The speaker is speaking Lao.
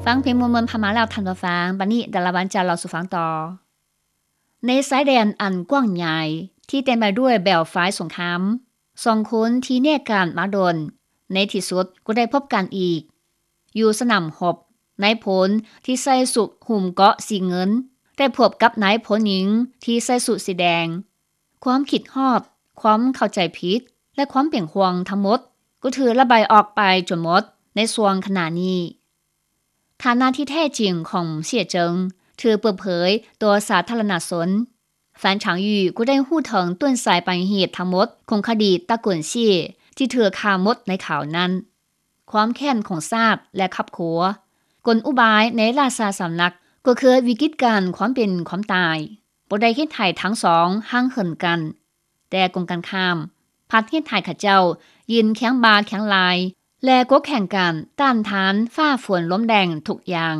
ຟັງເພງມ່ວນໆຜ່ານມາແລ້ວທ່ານຜູ້ຟັງ, ບັດນີ້ດາລາວັນຈະເລົ່າສູ່ຟັງຕໍ່. ໃນຊາຍແດນອັນກວ້າງໃຫຍ່ທີ່ເຕັມໄປດ້ວຍແບບຝາຍສົງຄາມ, ສອງຄົນທີ່ແຍກກັນມາດົນ ໃນທີ່ສຸດກໍໄດ້ພົບກັນອີກ. ຢູ່ສະໜາມຮົບ, ນາຍພົນທີ່ໃສ່ສຸດຫຸ້ມເກາະສີເງິນ ໄດ້ພົບກັບນາຍພົນຍິງທີ່ໃສ່ສຸດສີແດງ. ຄວາມຄິດຮອດ, ຄວາມເຂົ້າໃຈຜິດ ແລະ ຄວາມເປັນຫ່ວງທັງໝົດ ກໍຖືກລະບາຍອອກໄປຈົນໝົດໃນຊ່ວງຂະນະນີ້. ຖານະທີ່ແທ້ຈິງຂອງເສຍເຈິງຖືກເປີດເຜີຍຕໍ່ສາທາລະນະຊົນ. ຟານ ຊາງຢູ່ ກໍໄດ້ຮູ້ເຖິງຕົ້ນສາຍປາຍເຫດທັງໝົດຂອງຄະດີຕະໂກນເສຍທີ່ຖືກຂ້າໝົດໃນຄາວນັ້ນ. ຄວາມແຄ້ນຂອງຊາດ ແລະ ຄອບຄົວ, ກົນອຸບາຍໃນລາຊາສຳນັກ ກໍຄືວິກິດການຄວາມເປັນຄວາມຕາຍ ບໍ່ໄດ້ເຮັດໃຫ້ທັງສອງຫ່າງເຫີນກັນ, ແຕ່ກົງກັນຂ້າມ, ພັດເຮັດໃຫ້ເຂົາເຈົ້າຢືນຄຽງບ່າຄຽງໄຫຼ່ ແລະ ກົກແຂ່ງກັນຕ້ານທານຟ້າຝົນລົມແດງທຸກຢ່າງ.